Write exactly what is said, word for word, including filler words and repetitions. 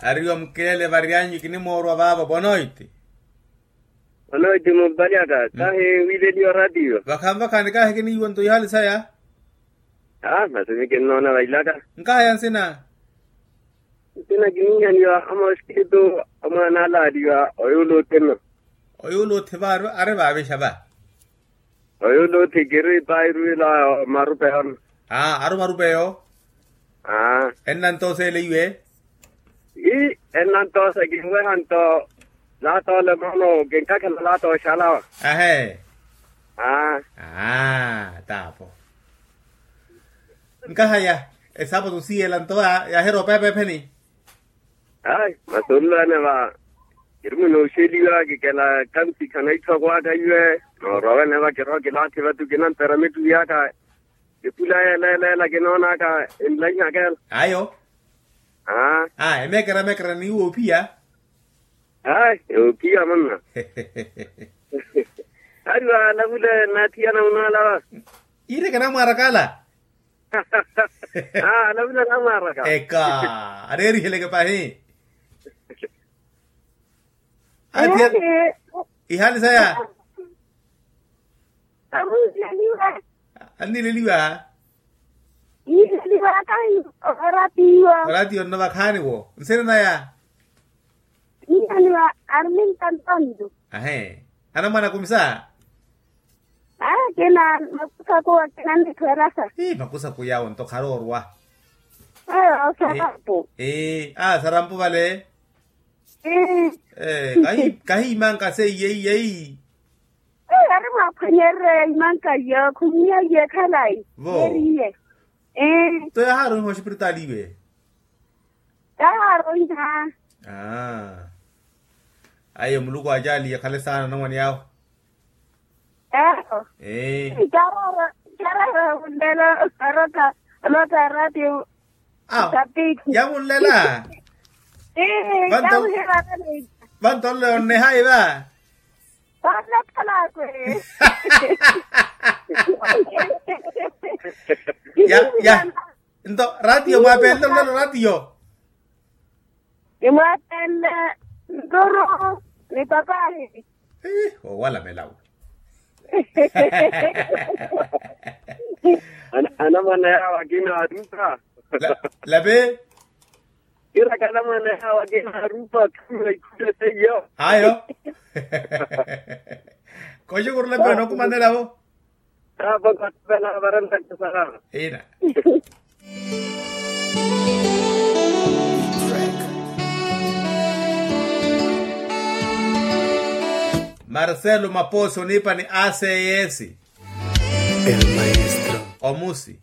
Ariwa mukelele varyanyu kinimoorwa vaavo bonoiti. Bonoiti muvalyaka kahi wileliwa ratiyo. Vakhanvakhani kahi kiniiwa nto ihali saya. Aa masi mikinnoona vailaka. Nkahaya nsina. Nsina kiniihaniwa amoskitu. Amwaana alaaliwa oyuula othima. Oyuula othima ari vaavixa va. Oyuula othikiri pairu ila marupeyo. Aa ari marupeyo. Aa ennantosa ele iwe. Ii ennantosa kinweha nto. Laata ole moono kinkakhala laata oxalawa. Ahe. Aa. Aa taapo. Nkahaya esaapatu siiyela nto yaahiropa epeepheni. Ayi masi onluwene va. Kiri munooxeliwa kikela kansikha na itthu akwaka iwe. Noorwa wene va kirowa kilaathi vatu kinantera mittuwi aka. Epula yeeleeleela kinoonaka enlaihaka ela. Ayo. Aa emeekera emeekera ni woophiya. Ayi woophiya manna. Ari waalavule naathiyana munaalawa. Iireke namwaaraka ala. Aa alavula namwaaraka. Eka areeriheleke pahi. Ati ihali saya. Anileliwa. Anileliwa kahi. Oratiyo. Oratiyo nno vakhaani wo nsina naya. Nihaniwa arminta ntonto. Ahe. Anamwana kumisa. Akina makusaku akina nitwerasa. Makusaku yawo nto kharoorwa. Sarampu. Sarampu vale. Kahiimanka seiye iyei. Ari mwaphwanyererya imanka iyo khumwiya iye khalayi. Vo. Nto yaharoiha oxipiritaali iwe. Yaharoiha. Ayo muluku acaaliye khale saana anamwane awo. Eero. Carara wunlela. Arota arota ratio. Kapiki yavunlela. Vanto vanto nle onnehayi va. Vanakhalakwe. Ya ya. Nto ratio mwaapenle olelo ratio. Nimwaapenle nturu ni papahi. Owala melawu. Anamwana yawo akina arupa. Lape. Kiraka anamwana yawo akina arupa khamira ikhule seiyo. Ayo. Koxukurula mpe onookumanelavo. Ina. Marcelo maposi oniipa ni aseyesi. Omusi.